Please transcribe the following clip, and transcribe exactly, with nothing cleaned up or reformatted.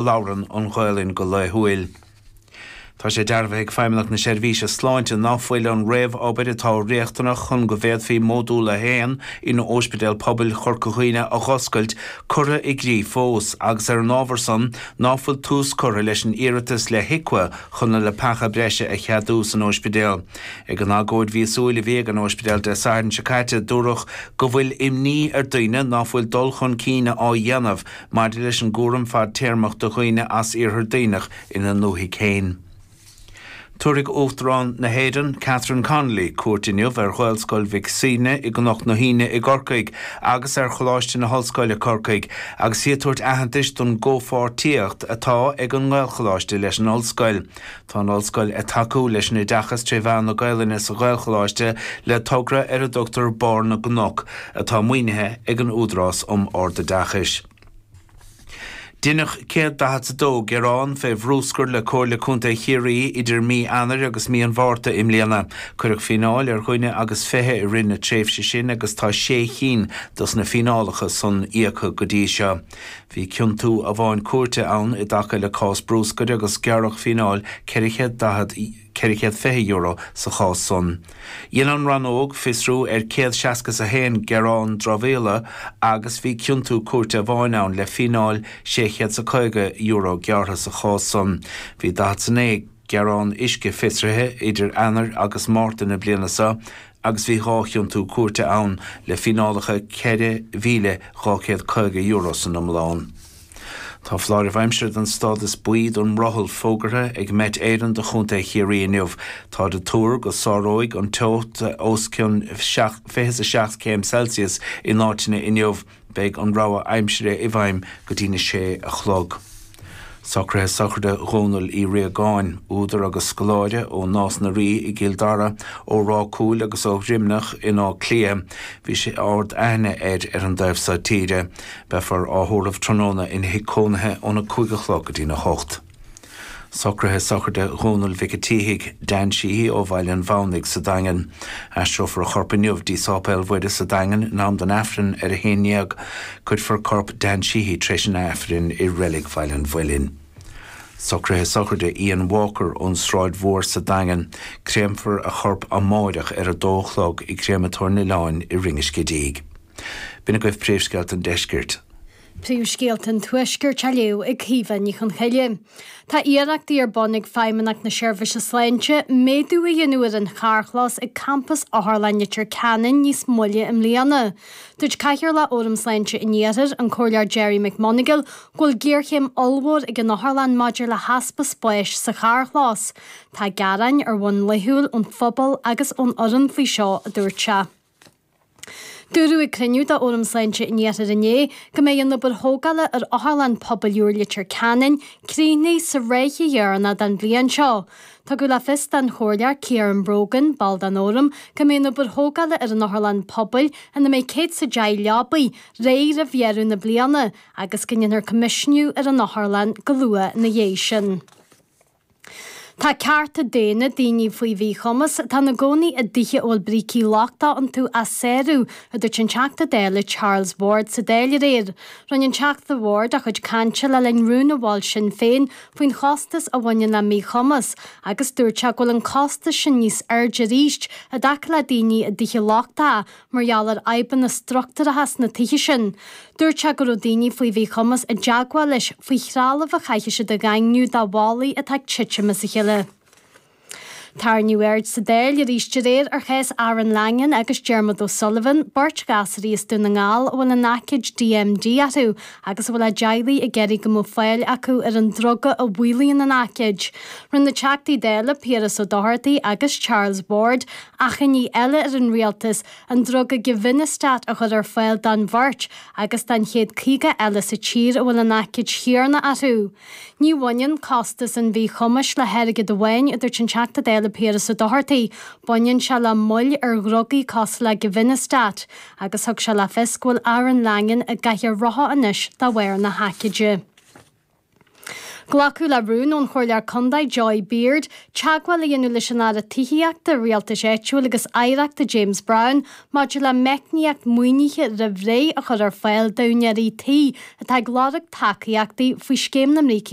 labhrann an Ghaelainn go laethúil. Tá sé dearbhaithe ag Feidhmeannacht na Seirbhíse Sláinte ná fuil an réamhobair atá riachtanach chun go bhféadfaí Módúl a haon in Ospidéal Pobail Chorca Dhuibhne a dh'oscailt curtha i gcrích fós, agus ar an ábhar san ná fuil tús curtha leis an iarratas le HIQA chun na leapacha breise a cheadú san ospidéal. Ag an agóid mhíosúil a bhí ag an ospidéal Dé Sathairn seo caite dúradh go bhfuil imní ar daoine ná fuil dul chun cinn á dhéanamh maidir leis an gcúram fadtéarmach do dhaoine as Iarthar Duibhneach ina ndúthaigh féin. Tabharfaidh Uachtarán na hÉireann, Catherine Connolly, cuairt inniu ar Ghaelscoil Mhic Suibhne i gCnoc na hAoine i gCorcaigh agus ar Choláiste na hOllscoile Corcaigh agus í ag tabhairt aitheantais don gcomhpháirtíocht atá ag an nGaelcholáiste leis an ollscoil. Tá an ollscoil ag tacú leis an oideachas tré mheán na Gaelainne sa Ghaelcholáiste le togra ar a dtugtar Barr na gCnoc, atá maoinithe ag an Údarás um Ardoideachais. Deineadh céad daichead 's a dó gearán fé bhrúscar le Comhairle Contae Chiarraí idir mí Eanáir agus mí an Mhárta i mbliana. Cuireadh fíneáil ar dhuine agus fiche i rith na tréimhse sin agus tá sé chinn dos na fíneálacha san íoctha go dtí seo. Bhí ciontú amháin cúirte ann i dtaca le cás brúscair agus gearradh fíneáil ceithre chéad daichead ceithre chéad fiche euro sa chás san. Dhein an rannóg fiosrú ar céad seasca 's a haon gearán dramhaíola agus bhí ciontú cúirte amháin ann le fíneáil sé chéad 's a caoga euro gearrtha sa chás san. Bhí daichead 's a naoi gearán uisce fiosraithe idir Eanáir agus Márta na bliana seo agus bhí dhá chiontú cúirte ann le fíneálacha ceithre mhíle dhá chéad caoga euro san iomlán. Tá foláireamh aimsire den stádas buí don mbrothall fógartha ag Met Éireann do Chontae Chiarraí inniu. Táid ag tuar go sáróidh an teocht os cionn fiche 's a seacht céim Celsius in áiteanna inniu. Beidh an rabhadh aimsire i bhfeidhm go dtí na sé a chlog. Socruithe sochraide Dhónaill Uí Riagáin, údar agus scoláire ó Nás na Rí i gCill Dara, ó Ráth Cúil agus ó Dhroimneach in Áth Cliath. Bhí sé ard aithne air ar an dtaobh seo tíre. Beifear á thórramh tráthnóna ina thigh cónaithe óna cúig a chlog go dtína hocht. Socruithe sochraide Dhónaill Mhic an tSíthigh, Dan Sheehy ó Bhaile an Mhamhnaigh sa Daingean. Aistreofar a chorp inniu dtí Sáipéal Mhuire sa Daingean in am don Aifreann ar a haon déag. Cuirfear corp Dan Sheehy tar éis an Aifrinn i Reilig Bhaile an Mhuilinn. Socruithe sochraide Ian Walker ón Sráid Mhór sa Daingean. Créamfar a chorp amáireach ar a dó a chlog i gCréamatóir an Oileáin i Rinn an Scidígh. B'in agaibh príomhscéalta an deiscirt. Príomhscéalta an Tuaiscirt á léamh ag Caoimhe Ní Chonchoille. Tá iarrachtaí ar bun ag Feidhmeannacht na Seirbhíse Sláinte méadú a dhéanamh ar an charrchlós ag campas Otharlann Leitir Ceanainn níos moille i mbliana. Dúirt Cathaoirleach Fhóram Sláinte an Iarthair, an Comhairleoir Gerry McMonagall, go bhfuil géarchéim ollmhór ag an otharlann maidir le heaspa spáis sa charrchlós. Tá gearáin ar bhonn laethúil ón phobal agus ón fhoireann faoi seo, a dúirt sé. Dúradh ag cruinniú de Fhóram Sláinte an Iarthair inné go mbeidh an obair thógála ar Otharlann Pobail úr Leitir Ceanainn críochnaithe sa ráithe dheireanach den bhliain seo. Tugadh le fios don Chomhairleoir Ciarán Brogan, ball den Fhóram, go mbeidh an obair thógála ar an Otharlann Pobail, ina mbeidh céad 's a deich leabaí, réidh roimh dheireadh na bliana agus go ndéanfar coimisiúnú ar an otharlann go luath ina dhiaidh sin. Tá cearta daonna daoine faoi mhíchumas atá ina gcónaí i dtithe a bhfuil brící lochtacha iontu á sárú, a dúirt an Teachta Dála Charles Ward sa Dáil aréir. Rinne an Teachta Ward a chuid cainte le linn rún a mhol Sinn Féin faoin chostas a bhaineann le míchumas agus dúirt sé go bhfuil an costas sin níos airde arís i dtaca le daoine i dtithe lochtacha mar gheall ar fhadhbanna struchtúracha sna tithe sin. Dúirt sé go raibh daoine faoi mhíchumas i dteagmháil leis faoi threalamh a chaithfidh siad a dhaingniú do bhallaí atá ag titim as a chéile. Tarraingíodh aird sa Dáil arís aréir ar chás Aaron Langan agus Dermot O'Sullivan, beirt ghasraí as Dún na nGall a bhfuil an aicíd D M D orthu agus a bhfuil a dteaghlaigh ag iarraidh go mbeadh fáil acu ar an druga a mhaolaíonn an aicíd. Rinne na Teachtaí Dála Piaras Ó Dochartaigh agus Charles Ward achainí eile ar an rialtas an druga Givinostat a chur ar fáil don bheirt agus don chéad caoga eile sa tír a bhfuil an aicíd chéanna orthu. Ní bhaineann costas an mhíchumais le hairgead amháin, a dúirt an Teachta Dála Piaras Ó Dochartaigh, baineann sé le moill ar dhrugaí cosúil le Givinostat, agus thug sé le fios go bhfuil Aaron Langan i gcathaoir rotha anois de bharr na haicíde. Glacadh le rún ón Chomhairleoir Contae Joy Beard, teagmháil a dhéanamh leis an Aire Tithíochta, Rialtais Áitiúil agus Oidhreachta James Browne maidir le meicníocht maoinithe roimh ré a chur ar fáil d'úinéirí tí atá ag lorg tacaíochtaí faoi scéim na mbrící